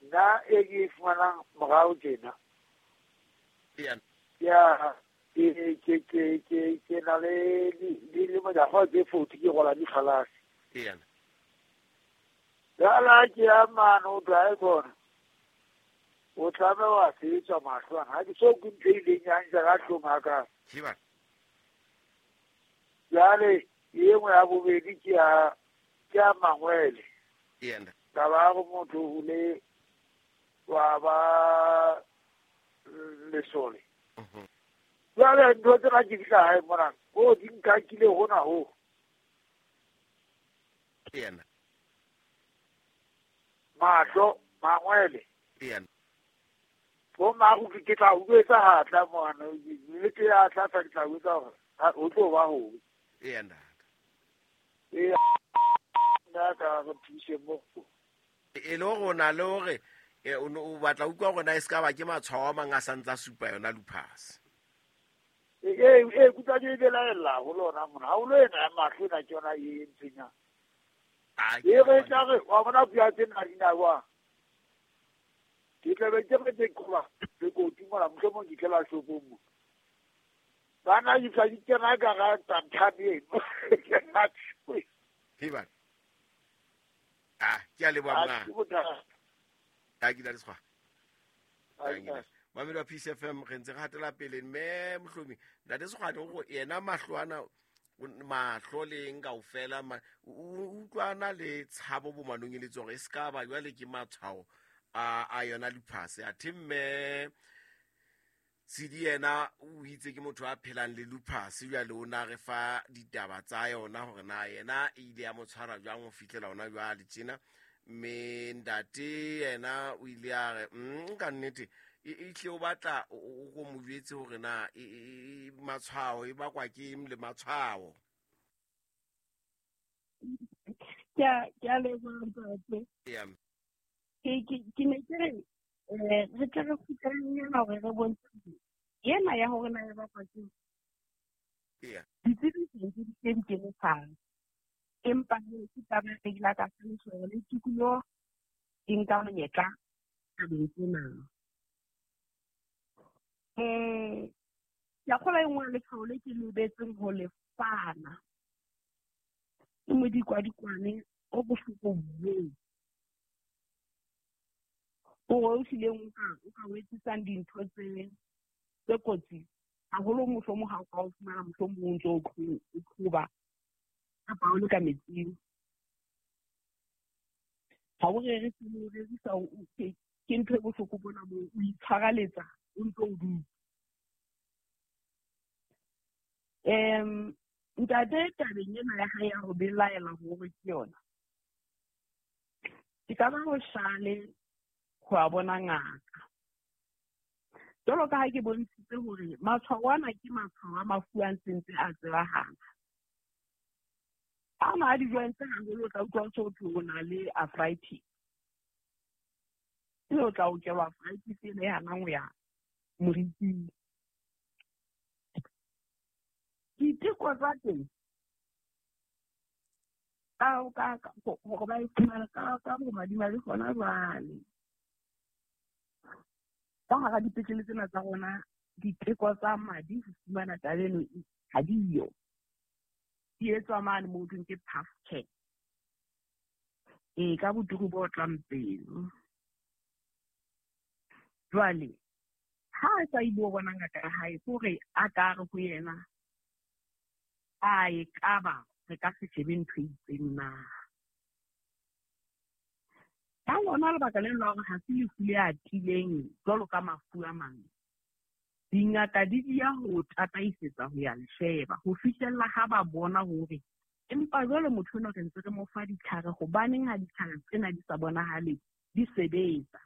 Nna e ke e fumanang morao tjena. Ya. Ya ke na le dilemo tsa go tse 40 ke gola dikgalase. Ya. Jala ke ya mane o tla e khona. O tlabe wa sebetsa mahlo ana. Ha ke so ke ntho e ileng ya ntja ka hlong ha ka. Ke ba. Jwale e nngwe ya bobedi ke ya mangwele. Ya. Taba ya go motho o le wa ba lesole. Jwale ntho tsena ke fihla hae mona, o di nkakile hona ho. Ya. Mahlo, mangwele. Ya. Bo mago ke tla utlwetsa ha tla mona, le ke ya tla tla ke tla utlwetsa hore ho tlo ba ho. Ya ntate. E nna ka re thuse mo. E le hore o na le hore o batla utlwa hore na e ska ba ke matshwao a mang a sa ntsa supa yona lupus. E kutlwa ke belaella ho lona mona. Ha o lo ena ya mahlo ena ke yona e entseng. E re tla re wa bona bua tsena di na wa. Ke tla be ke re ke qoba le kotsi mona mohlomong ke tlela shopong mo. Bana di tla di kena ka ga tanthabe eno. He ba. Ah, ke a leboha mna. A ke la Sekgwane. Mamedi wa Peace FM re ntse re hatela pele mme Mohlomi ntate Sekgwane o yena mahlo ana mahlo leng kaofela o utlwana le tshabo bo manong e le tsore e ska ba jwale ke matshwao a yona lupus. Athe mme Tshidi yena o itse ke motho a phelang le lupus jwale o na re fa ditaba tsa yona hore na yena e ile ya mo tshwara jwang ho fihlela hona jwale tjena. Mme ntate yena o ile a re ka nnete e tle o batla o go mo jwetse hore na matshwao e bakwa ke eng le matshwao. Ke a leboha ntate. Ya. Ke ne ke re re tle re kgutlelenyana hore re bontshe ena ya hore na e bakwa ke eng. Ya. Ditsebi tse di tse di kene fatshe. Empa ke taba e ile ka hlalosa hore le tikoloho e nka monyetla tabeng tsena. Ke a kgolwa e nngwe ya letshwao le ke lebetseng ho le fana. Ke modikwadikwane o bohloko boo. O hlileng o ka o etsisang dintho tse kotsi haholo mohlomong ha o ka o fumana mohlomong o ntso o qhoba kapa o le ka metsing. Ha o rerisa, o rerisa, ke ntho e bohloko bona moo o itshwaraletsa o ntso o dutse. Ntate tabeng ena ya hae ya ho belaela hore ke yona. Ke ka ba ho hlale ho a bona ngaka. Jwalo ka ha ke bontshitse hore matshwao ana ke matshwao a mafu a ntseng a tsebahala. A na a di-joints haholo o tla utlwa ho so thwe o na le arthritis. Ebe o tla okelwa arthritis ena e hanang ho ya moriting. Diteko tsa teng hore ba e fumane ka bomadimabe hona jwale. Ka hara dipetlele tsena tsa rona, diteko tsa madi ho fumana taba eno ha diyo. Di etswa mane moo thweng ke PAF care. Ka boturu bo otlang pelo. Jwale, ha a sa ile ho bona ngaka ya hae, ke hore a ka re ho yena, a e kaba re ka se shebe ntho e itseng na. Ka lona lebaka leno la hore ha se lefu le atileng jwalo ka mafu a mang, dingaka di dia ho tataisetsa ho ya le sheba ho fihlella ha ba bona hore empa jwale motho enwa re ntse re mo fa ditlhare, hobaneng ha ditlhare tsena di sa bonahale di sebetsa.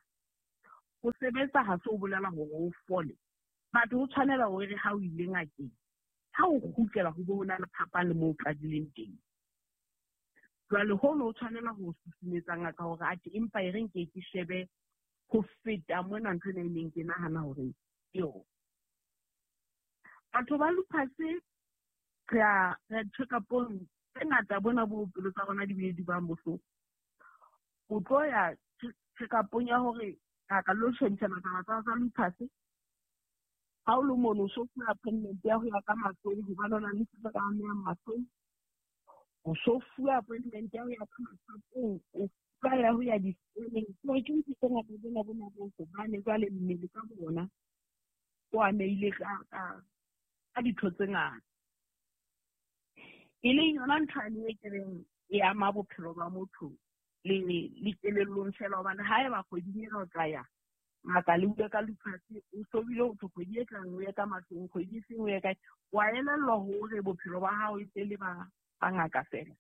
Ho sebetsa ha se o bolela hore o fole, batho ho tshwanela hore ha o ile ngakeng, ha o kgutlela ho bo ho na le phapang le moo o qadileng teng. Jwale hono o tshwanela ho susumetsa ngaka hore atjhe empa e re nke ke shebe ho feta mona ntho ena e neng ke nahana hore ke yona. Batho ba lupus re a check-upong tse ngata bona bo pelo tsa rona di bile di bang bohloko. O tlo ya check-upong ya hore ngaka lo shebisana taba tsa lupus. Ha o le mono o so fuwa appointment ya ho ya ka mahlong hobane o na le se ka amehang mahlong. O so fuwa appointment ya ho ya ka masapong, o fuwa ya ho ya di-scanning. Hore ke ntho tse ngata tsena bona bo hobane jwale mmele ka bona o amehile ka ditho tse ngata. E leng yona ntho ane e ke reng e ama bophelo ba motho le kelellong fela, hobane haeba kgweding ena o tla ya ngaka le utlwe ka lupus, o so bile ho thwe kgwedi e tlang o ye ka mahlong, kgwedi e seng o ye kae, wa elellwa hore bophelo ba hao e se le ba ngaka fela.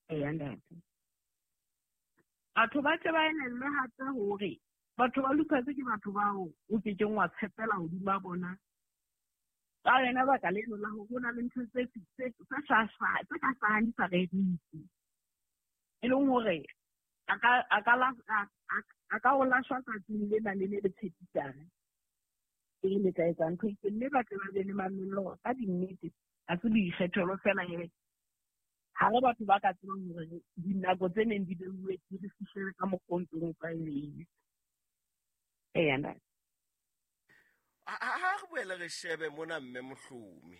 Eya ntate. Batho ba tle ba elellwe hape hore batho ba lupus ke batho bao o kekeng wa tshepela hodima bona. Ka lona baka leno la hore ho na le ntho tse ka hlahang di sa rerise, e leng hore a ka o lahlwa tsatsing lena le le tshepisang e le tla etsa ntho e itseng, mme ba tle ba be le mamello ka dinnete. Ha se boikgethelo fela he, ha re batho ba ka tsebang hore dinako tse neng di beuwe di re fihlele ka mokgwa o ntseng o tlwaelehile. Eya ntate. Ha re boele re shebe mona mme Mohlomi.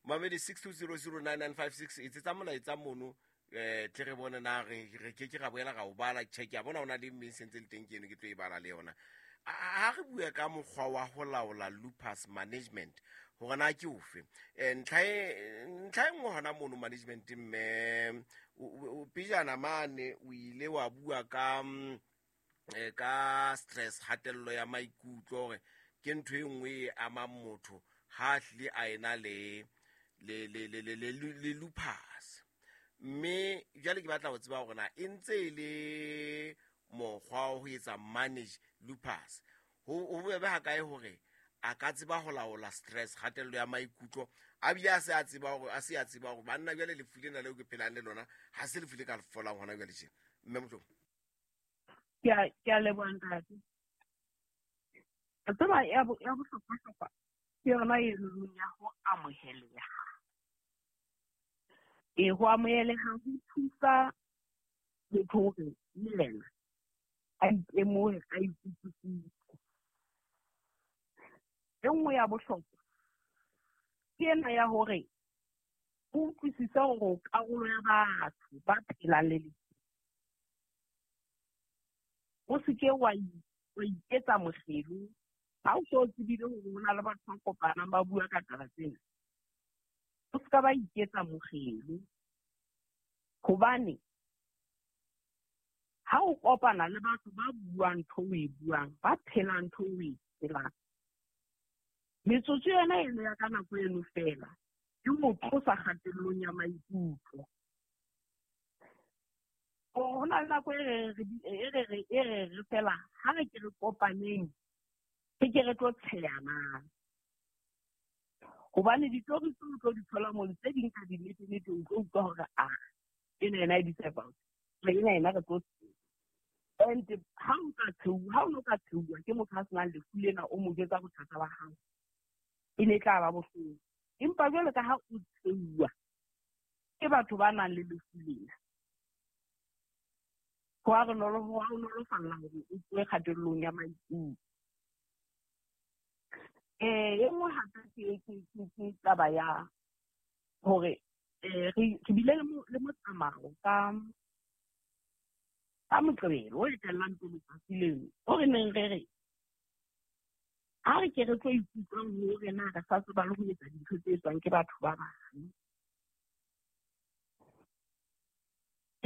Mamedi 62009956 etsetsa molaetsa mono tle re bone na re ke ke ra boela ra o bala. Check ya bona ona le mme sentse le teng ke eno ke tlo e bala le yona. Ha re bue ka mokgwa wa ho laola lupus management hore na ke ofe. Ntlha e nngwe hona mono management mme pejana mane o ile wa bua ka stress, kgatello ya maikutlo, hore ke ntho e nngwe e amang motho ha hlile a ena le lupus. Mme jwale ke batla ho tseba hore na e ntse e le mokgwa wa ho etsa manage lupus, ho bobebe ha kae hore a ka tseba ho laola stress, kgatello ya maikutlo, a bile a se a tseba hore banna jwale lefu lena leo ke phelang le lona ha se lefu le ka folang hona jwale tjena. Mme Mohlomi. Ke a leboha ntate. Tseba ya bohlokwa-hlokwa ke yona e leng ya ho amoheleha. E ho amoheleha ho thusa motho hore le yena a itemohe, a ikutlwisise. E nngwe ya bohlokwa ke ena ya hore o utlwisise hore o karolo ya batho ba phelang le lefu. O se ke wa iketsa mohlelo ha o so tsebile hore ho na le batho ba kopanang ba bua ka taba tsena. O se ka ba iketsa mohlelo, hobane ha o kopana le batho ba buang ntho o e buang, ba phelang ntho o e phelang, metsotso yona eno ya ka nako eno fela e mo tlosa kgatellong ya maikutlo. Ho na le nako e re fela ha re ke re kopaneng, re ke re tlo tsheyanang, hobane ditori tseo o tlo di thola mono tse ding ka dinnete-nnete o tlo utlwa hore a ena yena e di-about ena yena re tlo tsheya. And ha o no ka tsheuwa ke motho a senang lefu lena, o mo jwetsa bothata ba hao, e ne e tla ba bohloko. Empa jwalo ka ha o tsheuwa ke batho ba nang le lefu lena, ho a nolofalla hore o tsoe kgatellong ya maikutlo. E nngwe hape ke taba ya hore re bile le motsamao ka Moqebelo o etellang pele tsatsi leno, o re neng re re ha re ke re tlo ikutlwang hore na re sa tseba le ho etsa dintho tse etswang ke batho ba bang.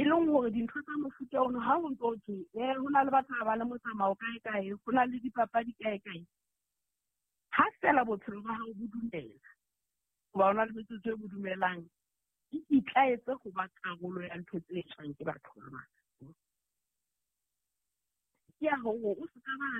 leng hore dintho tsa mofuta ono ha ho ntso thwe ho na le batho ba le motsamao kae kae, ho na le dipapadi kae kae, ha fela bophelo ba hao bo dumela, hoba o na le metsotso e bo dumelang, ikitlaetse ho ba karolo ya ntho tse etswang ke batho ba bang. Ke ya hore o se ka ba